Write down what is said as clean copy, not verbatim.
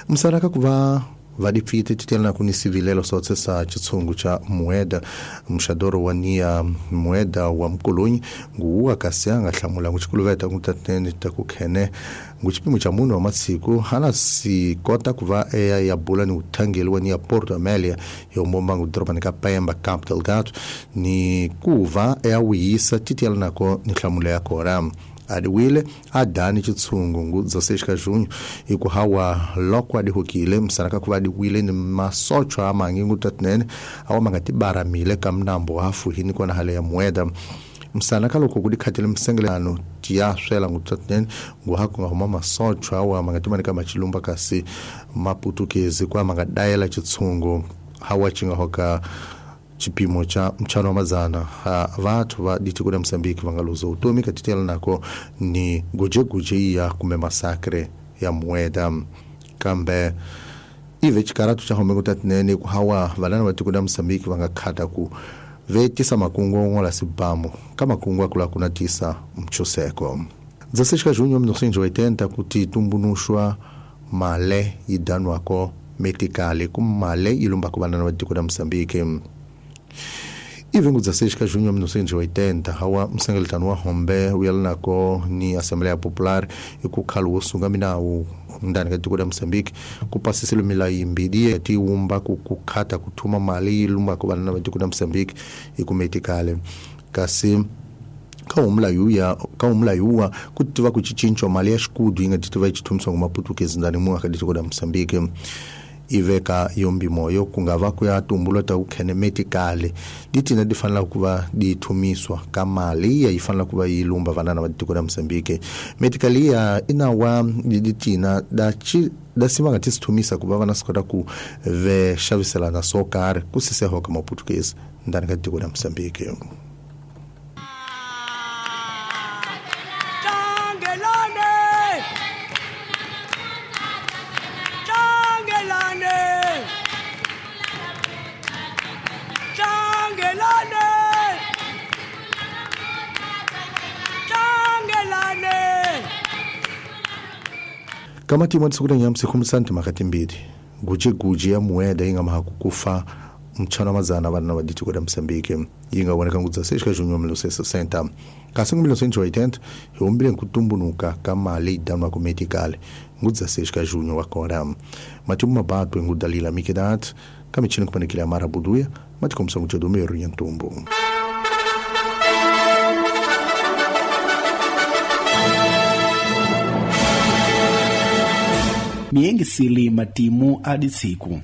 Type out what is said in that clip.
Msaraka kuva vadipfite titelana kuni sivilelo sotse sa chitsungu cha mueda mxadoro wa niya mueda wa mkolonyi nguwa kasi anga hlamula nguchikuluveta ngutatene takukhene nguchipimo cha munhu wa matsiku hana si kota kuva eya ya bula ni uthangeli wa niya Porto Amélia yombomba ngudorobani ka Pemba Campo Delgado ni kuva eya wiyisa titelanako ni hlamula ya kora adiwile adani chitsungu ngu 16 ka junho ikuhawa loko adihukile msanaka kuva adiwile ni masocho amangi ngu tatinene awa mangatibaramile kamnambo hafuhini kona hale ya mueda msanaka loko kudikhatile msengelano tiyaswela ngu tatinene ngu haku ngahuma masocho awa mangatimanika machilumba kasi maputukezi kwa mangadayela chitsungu hawa chingahoka chipimo cha mchano wa mazana vathu va ditiko la Mozambique vangaluza utomi katitela nako ni gujeguje iya kume masakre ya mueda kambe ive chikaratu cha homeko tatinene kuhawa valana va tiko la Mozambique vangakhata ku vetisa makungu ongola sibamu kamakungu akula kuna tisa mchuseko 16 ka junho 1980 kuti tumbunushwa male idanwako metikale kumale ilumba kuvanana va tiko la Mozambique. Ivengu 16 ka junho 1980 hawa msengeletano wa hombe uyalanako ni Assembleia Popular ikukhala wosunga minawu ndani ka tiko la Mozambique kupasisile milawu yimbili tiwumba kukhata kuthuma mali ilumba kuvanana va tiko la Mozambique ikumetikale kasi kaumlayuwa kutiva kuchicinco mali ya xikudu yi nga titiva yi chithumisa ngumaputukezi ndani muaka tiko la Mozambique iveka yombi moyo kungava kuya tumbula ta ukhene metikale ditina difanela kuva dithumiswa ka mali ya yifanela kuva yilumba vanana va tiko la Mozambique metikali ya inawa ditina da chi da sima nga tisithumisa kuva vana sikota ku ve xaviselana swo karhi ku siseho ka maputukezi ndani ka tiko la Mozambique. Kamati mwa tsikuta nyamsi khumsante makati mbili guje ya mueda inga mahakukufa mchana mazana vana va ditiko la Mozambique yinga voneka ngu 16 ka junho 1960 kasi ngu 1980 hi humbile nkutumbunuka ka mali idanwa ku metikale ngu 16 ka junho wa kora matimu mabatwe ngu Dalila Mikidat kamichini kupanekile Amara Buduya matikomisa ngu Jodomero Nyantumbu. Miengisili matimu aditsiku.